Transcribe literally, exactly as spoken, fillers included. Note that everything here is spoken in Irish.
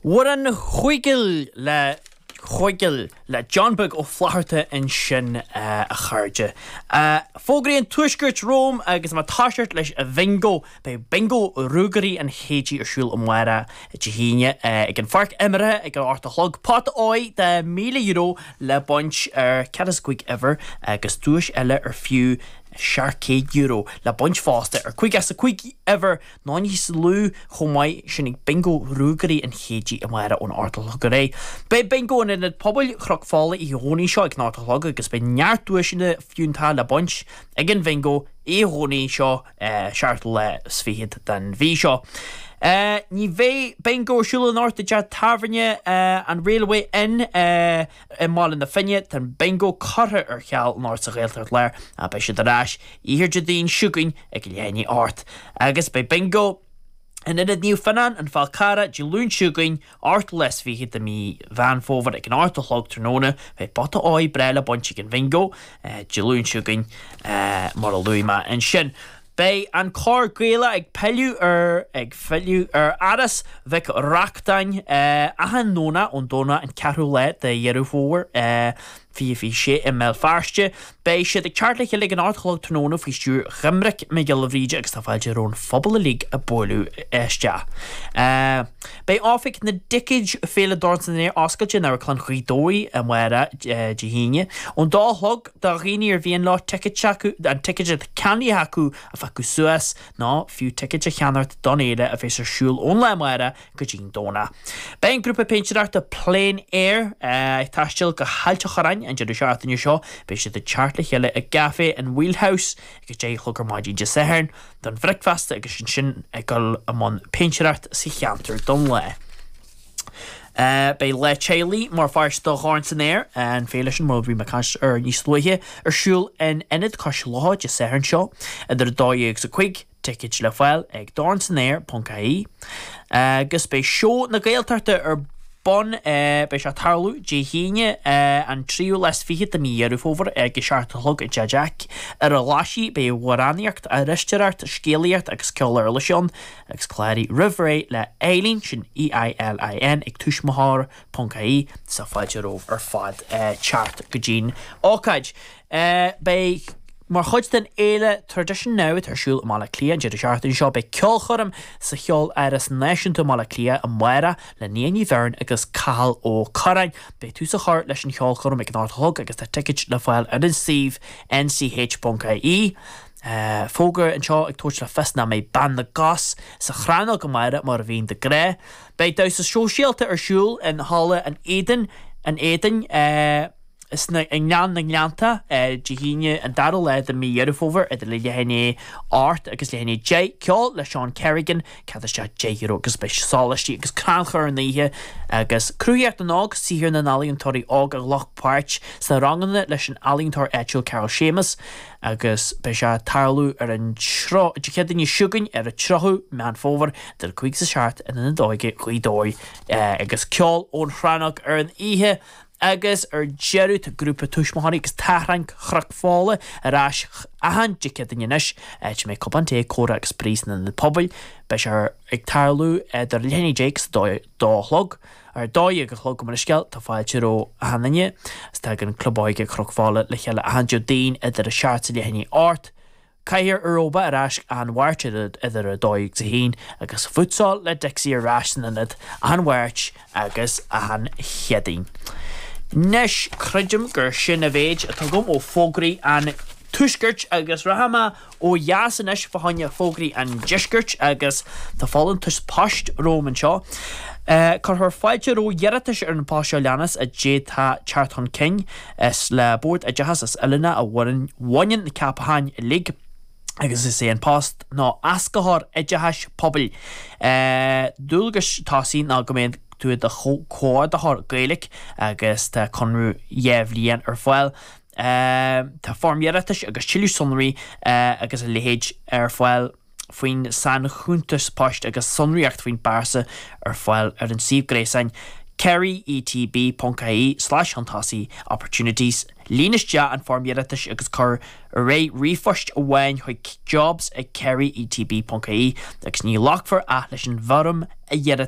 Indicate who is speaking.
Speaker 1: Amhrán Chuigil le Chuigil le John Beag Ó Flatharta ansin a chairde. Fógraí an Tuaiscirt romham agus má táiseart leis a bhingo, beidh bingo Ruagairí an Chéidí ar siúl amárach Dé hAoine ag an pháirc imeartha ag an ocht a chlog. Pota óir de míle euro le baint ar ceathair is cúig uimhir agus duais eile ar fiú seacht céad euro le baint fosta ar cúig as a cúig uimhir nó níos lú chomh maith sin ag bingo Ruagairí an Chéidí amárach ón ocht a chlog ar aghaidh. Beidh bingo in Ionad Pobail Chnoc Fola Dé Domhnaigh seo ag an ocht a chlog agus beidh neart duaiseanna fiúntacha le baint ag an bhingo Dé Domhnaigh seo seachtú lá is fichead den mhí seo. Uh, ní bheidh bingo ar siúl anocht i dteach tábhairne uh, an Railway Inn uh, i mBaile na Finne tá bingo curtha ar ceal anocht sa Ghaeltacht Láir a beidh siad ar ais oíche Déardaoin seo chugainn ag leath i ndiaidh a hocht. Agus beidh bingo In Ionad Naomh Fionnán an Fál Carrach Dé Luain seo chugainn ochtú lá is fiche de mí Mheán Fómhair ag an ocht a chlog tráthnóna beidh pota óir breá le baint ag an bhingo Dé Luain seo chugainn mar a luaigh mé ansin. Beidh an cór Gaelach ag pilleadh ar ag filleadh ar Áras Mhic Reachtain achan Domhnach ón Domhnach an ceathrú lá de Dheireadh Fómhair fiche fiche sé i mBéal Feirste. Beidh siad ag teacht le chéile ag an ocht a chlog tráthnóna faoi stiúir Dhoiminic Mac Giolla Bhríde agus tá fáilte roimh an phobal uilig ag bualadh isteach. Beidh oifig na dticéid Féile Dorn san Aer oscailte in Amharclann Ghaoth Dobhair amárach Dé hAoine. Ón dó a chlog do dhaoine ar mhian leo ticéid acu an ticéid atá ceannaithe acu a phiocadh suas nó fiú ticéid a cheannacht don fhéile a bheas ar siúl ón lá amárach go dtí an Domhnach. Beidh an grúpa péintéireachta Plein Air ag taisteal go hAilt an Chorráin an deireadh seachtaine seo, beidh siad ag teacht le chéile i gcaife an Wheelhouse ag a deich a chlog ar maidin Dé Sathairn don bhricfeasta agus ansin ag dul i mbun péintéireacht sa cheantar don lá. Uh, beidh lá teaghlaigh mar pháirt de Dhorn san Aer an féile sin mar bhí mé ag caint air níos luaithe ar siúl in Ionad Cois Locha Dé Sathairn seo idir dó dhéag is a cúig ticéid le fáil ag dornsanaer.ie agus beidh seó na Gaeltachta ar bun beidh sé tarlú Dé hAoine an tríú lá is fiche de mí Dheireadh Fómhair ag a seacht a chlog i dTeach Jack. Ar an Ghlaisigh beidh amhránaíocht, aisteoireacht, scéalaíocht agus ceol uirlise ann agus cláraigh roimh ré le Eileen sin EILIN ag tuismitheoir.ie sa fáilte romhaibh ar fad teacht go dtí'n ócáid. Beidh Mar chuid den fhéile Tradition Now atá ar siúl i mBaile Átha Cliath an deireadh seachtaine seo beidh ceolchoirm sa Cheoláras Náisiúnta Baile Átha Cliath amárach le Nia Ní Bheirn agus Cathal Ó Curráin. Beidh tús á chur leis an cheolchoirm ag an ocht a chlog agus tá ticéid le fáil ar an suíomh nch.ie. Uh, fógra anseo ag tabhairt le fios nach mbeidh bean na gcos sa chrannóg amárach mar a bhíonn de ghnáth. Beidh damhsa sóisialta ar siúl in Halla an Éadain an Éadain uh, sna i nGleann na nGleannta Dé hAoine an dara lá de mí Dheireadh Fómhair idir le leath i ndiaidh a hocht agus leath i ndiaidh a deich ceol le Seán Kerrigan cead isteach deich euro agus beidh sóláistí agus crannchur an oíche agus cruthaíocht na n-óg saothar na n-ealaíontóirí óg a ghlac páirt sna ranganna leis an ealaíontóir áitiúil Carol Seamus agus beidh sé tarlú ar an Dé Céadaoine seo chugainn ar an tríochadú Meán Fómhair idir cúig is a seacht in Ionad Óige Ghaoth Dobhair agus ceol ón chrannóg ar an oíche agus ar deireadh tá grúpa tuismitheoirí agus tachrán Chnoc Fola ar ais achan Dé Céadaoine anois áit a mbeidh cupán tae comhrá agus spraoi san ionad pobail beidh sé ag tarlú idir leath i ndiaidh a deich agus dó dó a chlog ar dó dhéag a chlog go scéal tá fáilte roimh achan duine is tagann Club Óige Chnoc Fola le chéile achan Déardaoin idir a seacht is leath i ndiaidh a hocht. Cathaoir Aeróbach ar ais an Mháirt idir a dó agus a haon agus futsal le Dixie ar ais san ionad an Mháirt agus an Chéadaoin. Anois creidim gur sin an méid atá agam ó fógraí an tuaiscirt agus rachaidh mé ó dheas anois fá choinne fógraí an deiscirt agus tá folúntas poist romham anseo. Uh, Cuirfear fáilte roimh iarratais ar an post seo leanas a d'fhéadfadh teacht chun cinn is le Bord Oideachais is Oiliúna a bhaineann na ceapacháin uilig. agus is é an post ná éascaitheoir oideachais pobail. Uh, Dualgais tosaigh ná go mbeidh tú i do chomhordaitheoir Gaeilge agus tá conradh dhá bhliain ar fáil. Uh, tá foirm iarratais agus tuilleadh sonraí uh, agus a leithéid ar fáil faoin sainchuntas poist agus sonraíocht faoin bpearsa ar fáil ar an suíomh gréasáin kerryetb.ie slash chun tosaigh opportunities. Líon isteach an foirm iarratais agus cuir ar aghaidh ríomhphost amháin chuig jobs ag kerryetb.ie agus ní ghlacfar ach leis an bhfoirm a iarratais